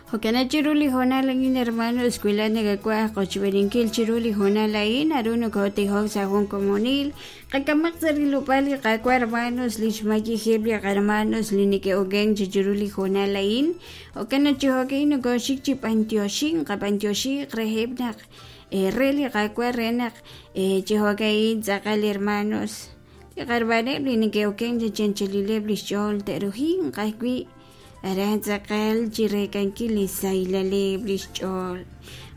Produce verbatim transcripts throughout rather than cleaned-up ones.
Jo'kan chiru li hoonal a'in, hermanos, wi laa'at nakawaj qochb'eeninkil chiru li hoonal a'in, naru nokotijok sa' jun komonil. Qak'amaq sa' rilob'aal li Qaawa', hermanos, li xmayejeb' li hermanos li neke'okenk chi chiru li hoonal a'in. Jo'kan naq chi jo'ka'in nokoxik chi b'antioxink, qab'antioxiq reheb' naq re li Qaawa' re naq chi jo'ka'in tz'aqal, hermanos, li qarbaneb' li neke'okenk chi chanchalileb' li xch'ool te'rujinq ajwi' aran tz'aqal chi reek'ankil li sahilal li xch'ool.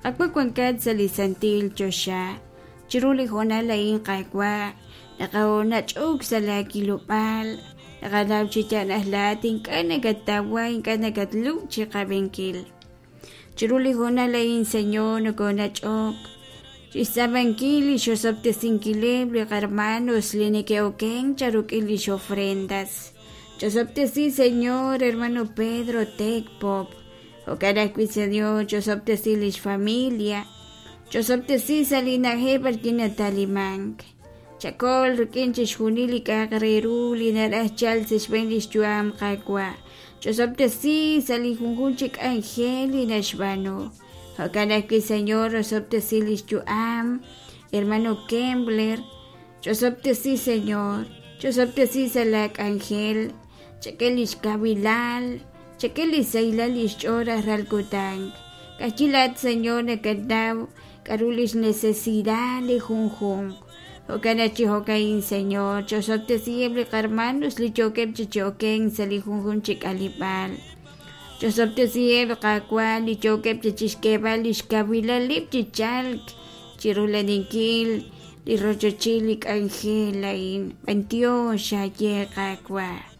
Qaawa' wankat sa' li santil choxa chiru li hoonal a'in, Qaawa', naqanach'ok sa' laakilob'aal, naqanaw chi yaal laa'at ink'a' nakattawa, ink'a' nakatlub' chi qab'inkil. Chiru li hoonal a'in, Señor, nokonach'ok chixtz'aamankil li xosob'tesinkileb' li qarmanos li neke'okenk charuk'in lix ofrendas. Chosob'tesi, Señor, hermano Pedro Tecpop. Jo'kan ajwi', Señor, chosob'tesi lix familia. Chosob'tesi sa' li na'ajej b'arwi' natalimank. Chakol rik'in chixjunil li k'a'aq re ru li naraj chalk sa' xb'een lix yu'am, Qaawa'. Chosob'tesi sa' li junjunq chi k'anjel li naxb'aanu. Jo'kan ajwi', Señor, osob'tesi lix yu'am, hermano Kembler. Chosob'tesi, Señor. Chosob'tesi sa' la k'anjel. Chak'e lix kawilal, chak'e li sahilal lix ch'ool rajlal kutan. Ka'ajwi' laa'at, Señor, nakanaw k'a'ru lix necesidad li junjunq. Jo'kan naq chi jo'ka'in, Señor, chosob'tesiheb' li qarmanos li yookeb' chi cho'okenk sa' li junjunq chi k'aleb'aal. Chosob'tesiheb' Qaawa' li yookeb' chi chixk'eeb'al lix kawilaleb' chi chalk chirulaninkil li rochochil li k'anjel a'in. B'antiox aye Qaawa'.